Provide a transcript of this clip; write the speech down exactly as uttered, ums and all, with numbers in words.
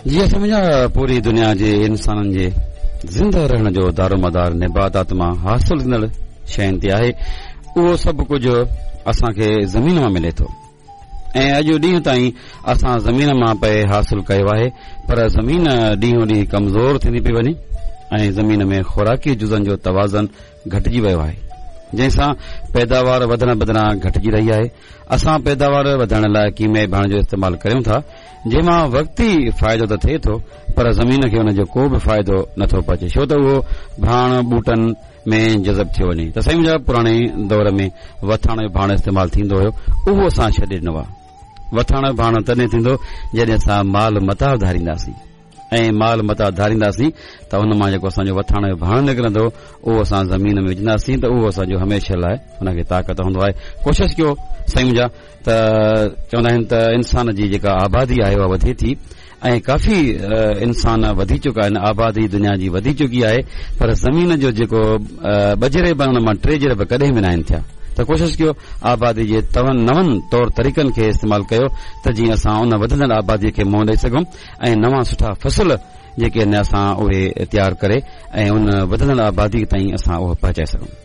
جي اسان منهنجا پوري دنيا جي انسانن جي زنده رهڻ جو دارومدار نباتات مان حاصل ٿيندڙ شين تي آهي. اهو سڀ ڪجهه اسان کي زمين مان ملي ٿو ۽ اڄ ڏينهن تائين اسان زمين مان پئي حاصل ڪيو آهي، پر زمين ڏينهون ڏينهن ڪمزور ٿيندي پئي وڃي ۽ زمين ۾ خوراڪي جزن جو توازن گهٽجي ويو آهي، جنهن سان پيداوار وڌڻ بدران گهٽجي رهي آهي. اسان پيداوار وڌائڻ لاء ڪيميائي ڀاڻ جو استعمال ڪريون ٿا، جنهن مان وقتي فائدو ته ٿئي ٿو، پر زمين کي ان جو ڪو به فائدو نٿو پهچي، ڇو ته اهو ڀاڻ ٻوٽن ۾ جذب ٿيو وڃي. ته سائين منهنجا، پراڻي دور ۾ وٿاڻ جو ڀاڻ استعمال ٿيندو هيو، اهو اسان ڇڏي ڏنو آهي. وٿاڻ جو ڀاڻ تڏهن ٿيندو جڏهن اسان مال متاع ڌارينداسين، ۽ مال متاع ڌارينداسين ته ان مان جيڪو اسان جو وٿاڻ جو ڀاڻ نڪرندو، اهو اسان زمين ۾ وجهنداسين ته اهو اسان جو هميشه لاء ان کي طاقت هوندو آهي. ڪوشش ڪيو سائين منهنجا، ته چوندا آهن ته انسان جي جيڪا آبادي آهي اها وڌي ٿي ۽ ڪافي انسان وڌي چڪا آهن، آبادي دنيا جي وڌي چڪي آهي، پر زمين جو جيڪو ٻه جريب آهن ان مان ٽي جريب ڪڏهن به ناهن ٿيا. ته ڪوشش ڪيو آبادي جي نون طور طريقن کي استعمال ڪيو ته جيئن اسان ان وڌندڙ آبادي کي منهن ڏئي سگهون ۽ نوان سٺا فصل جيڪي آهن اسان اهي تيار ڪري ۽ ان وڌندڙ آبادي تائين اسان اهو پهچائي سگهون.